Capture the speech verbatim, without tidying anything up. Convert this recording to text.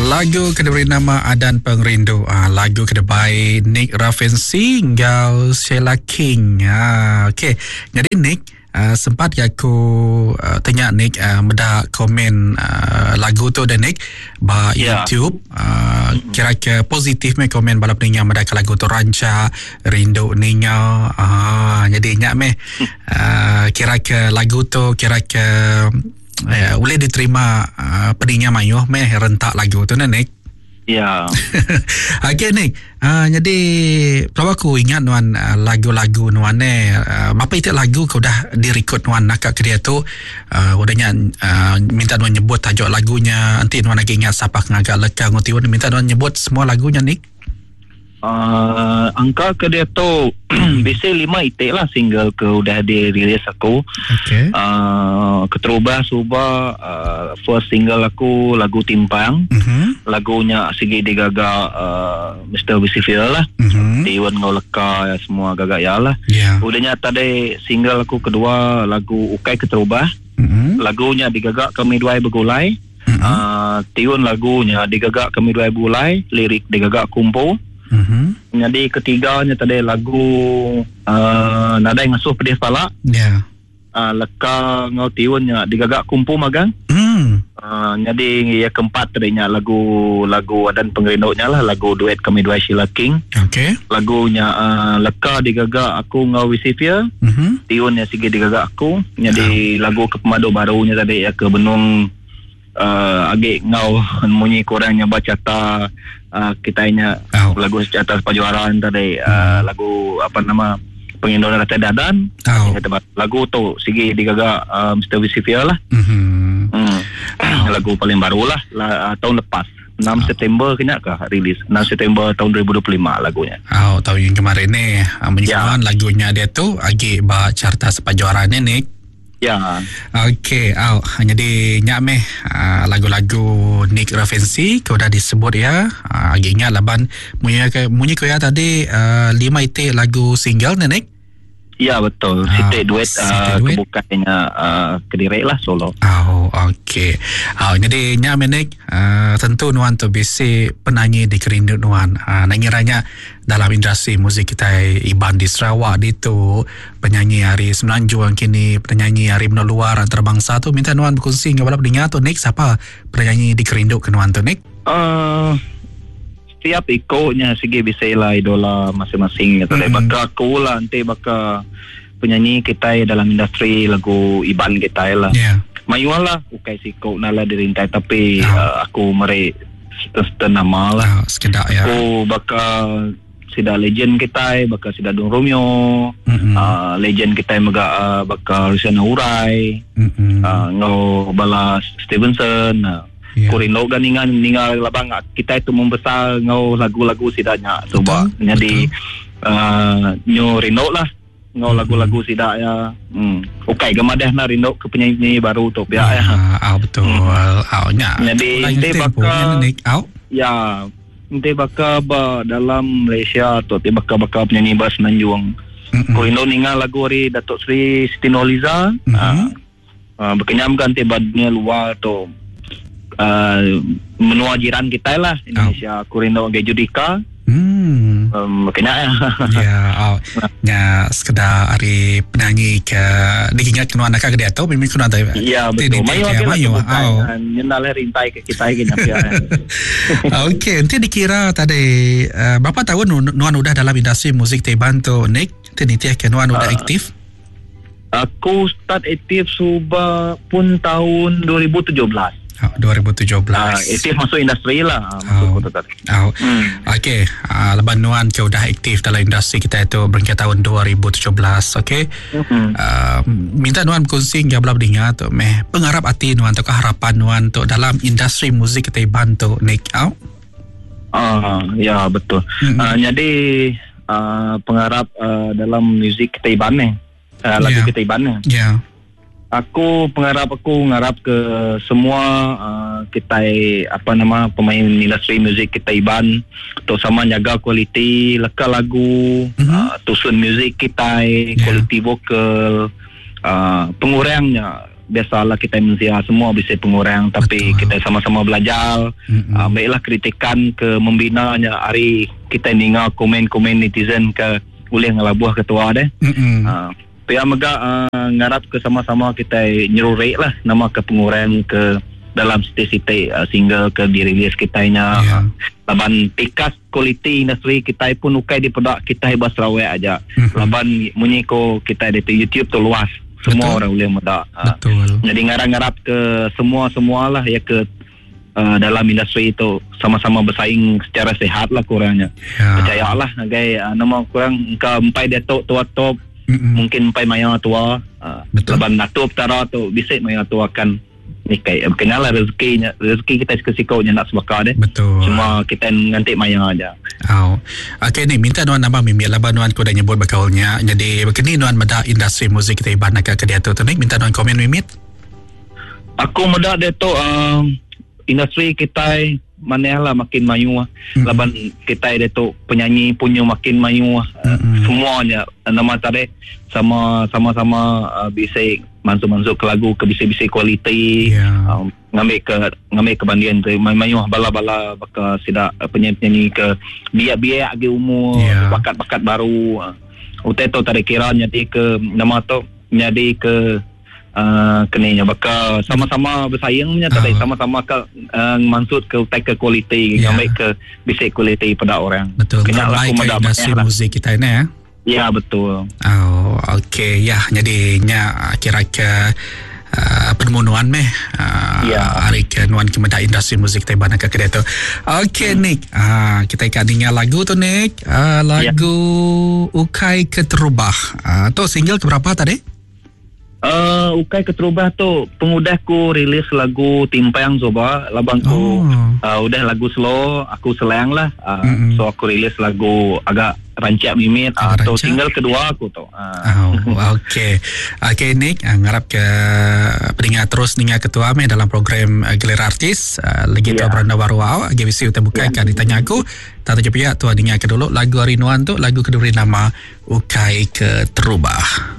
Lagu ke diberi nama Adan Pengerindu. Ah, lagu ke dibai Nick Rafensi enggau Sheila King. Ah, okey. Jadi Nick, uh, sempat ke aku uh, tanya Nick uh, meda komen uh, lagu tu dan Nick ba Ya. YouTube uh, kira ke positif meh komen bala peninga meda ke lagu tu ranca rindu ninga. Ah, jadi nyak meh uh, kira ke lagu tu kira ke eh, boleh diterima uh, peninga mayuh meh rentak lagu tu Nick. Ya. Okey Nick, uh, jadi kalau aku ingat nuan uh, lagu-lagu nuan ni uh, berapa itu lagu kau dah direkod nuan nak ke dia tu uh, udahnya uh, minta nuan nyebut tajuk lagunya, nanti nuan lagi ingat siapa ngagak leka nguti minta nuan nyebut semua lagunya Nick. Uh, angka ke dia tu bisa lima itik lah single ke udah dirilis aku. Okey. Uh, keterubah suba uh, first single aku lagu Timpang. Mhm. Lagunya sigi digaga uh, Mister Lucifer lah. Mhm. Tiwan ngau leka semua gagak ya lah. Ya. Udahnya tadi single aku kedua lagu Ukai Keterubah. Mhm. Lagunya digagak kami dua bergulai. Mhm. Uh, tiun lagunya digagak kami dua bergulai, lirik digagak kumpul. Mhm. Jadi ketiganya tadi lagu uh, Nadai Ngasuh Pedih Pala. Ya. Uh, leka ngau tiunnya digagak kumpul magang. Hmm. Uh, jadi yang keempat tadinya lagu lagu dan pengerindunya lah lagu duet kami dua Sheila King. Okey. Lagunya uh, leka digagak aku ngau Wisifia. Mhm. Tiunnya sigi digagak aku. Jadi lagu ke pemadu barunya tadi ya ke Benung uh, agak ngau munyi kurangnya baca ta uh, kitanya Oh. lagu secara pajuaran tadi uh, lagu apa nama Pengindoran Rakyat Dadan. Oh. Lagu tu sigi digagak uh, Mister Wisifia lah. Mhm. Hmm. Lagu paling baru lah, lah tahun lepas enam September kena ke rilis enam September tahun dua ribu dua puluh lima lagunya. Oh, tahun yang kemarin ni menyusun Ya. lagunya dia tu agi ba carta sepajuaran ni Nick. Ya. Okey, oh, jadi nyak meh lagu-lagu Nick Rafensi kau dah disebut ya. Agi ingat laban munyi ke munyi ko ya tadi uh, lima itik lagu single ni Nick. Ya betul. Ah, Sitik duet Sitik uh, duet. kebukanya uh, kedirek lah solo. Oh, okey. Oh, jadi nyak meh Nick, uh, tentu nuan tu bisi penyanyi di kerindu nuan. Uh, nangiranya dalam industri muzik kita Iban di Sarawak di tu penyanyi hari Semenanjung kini penyanyi hari menua luar antarabangsa tu minta nuan berkongsi dengan bala pendengar tu Nick, siapa penyanyi di kerindu ke nuan tu Nick? Uh, setiap ikutnya segi bisa lah idola masing-masing gitu. Mm-hmm. Baka aku lah nanti baka penyanyi kita dalam industri lagu Iban kita lah. Ya. Yeah. Mayuan lah ukai siko nala dirintai tapi Oh. uh, aku mere setan nama lah. Oh, sekedak ya. Aku baka sida legend kita baka sida Dung Romeo, Mm-mm. uh, legend kita mega uh, baka Rusiana Urai, Mm-mm. uh, ngau bala Stevenson. Uh, Ya. yeah. Kurin logan ningan ningal labang kita itu membesar ngau lagu-lagu sidanya tu ba. Betul, Jadi uh, nyo rindu lah ngau lagu-lagu sida ya. Hmm. Okey gemadah na rindu ke penyanyi baru tu biar ya. Ah, ah, betul. Ah, nya. Jadi, Lain dia tempo, bakal- nya, Nick. Au. Ya, nanti bakal ba dalam Malaysia tu ti bakal-bakal penyanyi ba Semenanjung. Mm-mm. Ku rindu ningal lagu ari Datuk Seri Siti Nurhaliza. Mhm. Ah, uh, berkenyam kan ti ba dunia luar tu. Uh, menua jiran kita lah Indonesia. Aku rindu ngai Judika. Hmm. Um, kena ya. Ya, oh. Nya sekedar hari penyanyi ke diingat kenuan nak ke dia tu mimpi kenuan tadi. Ya betul. Mayu Mayu mayu. Oh. Nyenal rintai ke kita ke nyapia. Okey, nanti dikira tadi uh, berapa tahun nuan udah dalam industri muzik Teban tu Nick? Nanti nitiah ke nuan udah Ah. aktif? Aku start aktif suba pun tahun dua ribu tujuh belas. Oh, dua ribu tujuh belas. Ah, aktif masuk industri lah. Ah, Masuk Oh. kota tadi. Oh. Hmm. Okey, uh, leban nuan ke udah aktif dalam industri kita itu berangkat tahun dua ribu tujuh belas, okey. Hmm. Uh, minta nuan berkongsi hingga belah dengar tu meh pengharap hati nuan tu harapan nuan tu dalam industri muzik kita bantu Nick out. Ah, ya betul. Mm-mm. Ah, jadi ah, pengharap ah, dalam muzik kita Iban ni. Ah, lagu Ya. kita Iban ni. Ya. Yeah. Aku pengharap aku ngarap ke semua uh, kita apa nama pemain industri muzik kita Iban tu sama jaga kualiti leka lagu, Mhm. uh, tusun muzik kita, Ya. kualiti vokal, uh, pengurangnya biasalah kita manusia semua bisa pengurang tapi Betul. Kita sama-sama belajar. Mm-mm. Uh, baiklah kritikan ke membinanya hari kita ninga komen-komen netizen ke boleh ngelabuh ketua deh. Mm-mm. Uh, pihak mega uh, ngarap ke sama-sama kita nyerurek lah nama ke pengurang ke dalam siti-siti uh, single ke dirilis kita nya. Ya. Laban tikas kualiti industri kita pun ukai di pedak kita hebat Sarawak aja. Mm-hmm. Laban munyi ko kita di YouTube tu luas. Semua Betul. orang boleh medak. Betul. Jadi ngarap-ngarap ke semua-semua lah ya ke uh, dalam industri itu sama-sama bersaing secara sehat lah kurangnya. Ya. Percayalah ngagai uh, nama kurang ke empai dia tok tua top Mm-mm. mungkin empai maya tua uh, Betul. laban natup tara tu bisik maya tua kan nikai kenal lah rezekinya rezeki kita siko-sikonya nak sebaka deh. Betul. Cuma kita ngantik maya aja. Oh. Okey ni minta nuan nambah mimpi laban nuan ku dah nyebut bekaulnya. Jadi begini nuan meda industri muzik kita iban nak ke dia tu. Ni minta nuan komen mimit. Aku meda dia tu um, industri kita mana lah makin mayu Mm-mm. laban kita dia tu penyanyi punya makin mayu Mm-mm. semuanya nama tadi sama sama-sama uh, bisa masuk-masuk ke lagu ke bisa-bisa kualiti Ya. um, ngambil ke ngambil ke bandian tu mayu bala-bala baka sidak uh, penyanyi-penyanyi ke biak-biak agi umur Ya. bakat-bakat baru uh, utai tu tadi kira jadi ke nama tu jadi ke Uh, keninya baka sama-sama bersaingnya tadi Ah. sama-sama ke uh, maksud ke utai ke kualiti Ya. ngambil ke bisa kualiti pada orang. Betul. Kena lah Terbaik aku ke meda industri banyak lah. muzik kita ini ya. Ya betul. Oh, okey ya. Jadi nya kira ke uh, penemuan meh uh, Ya. hari ke nuan ke meda industri muzik kita iban ke dia tu. Okey Nick, uh, kita ikat dengar lagu tu Nick. Uh, lagu Ukai Keterubah. Uh, tu single ke berapa tadi? Uh, Ukai Keterubah tu pengudah ku rilis lagu Timpang Zoba labang ku Oh. uh, udah lagu slow aku selang lah uh, Mm-mm. so aku rilis lagu agak rancak mimit uh, Agak tu rancak. single kedua aku tu uh. Oh, okey. Okey Nick, ah, ngarap ke pendengar terus dengar ketua meh dalam program uh, Gelera Artis uh, lagi tu Ya. beranda baru au G B C utai bukai kan ditanya aku. Tak tujuh pihak tuan dengar ke dulu lagu hari nuan tu lagu kedua nama Ukai Keterubah.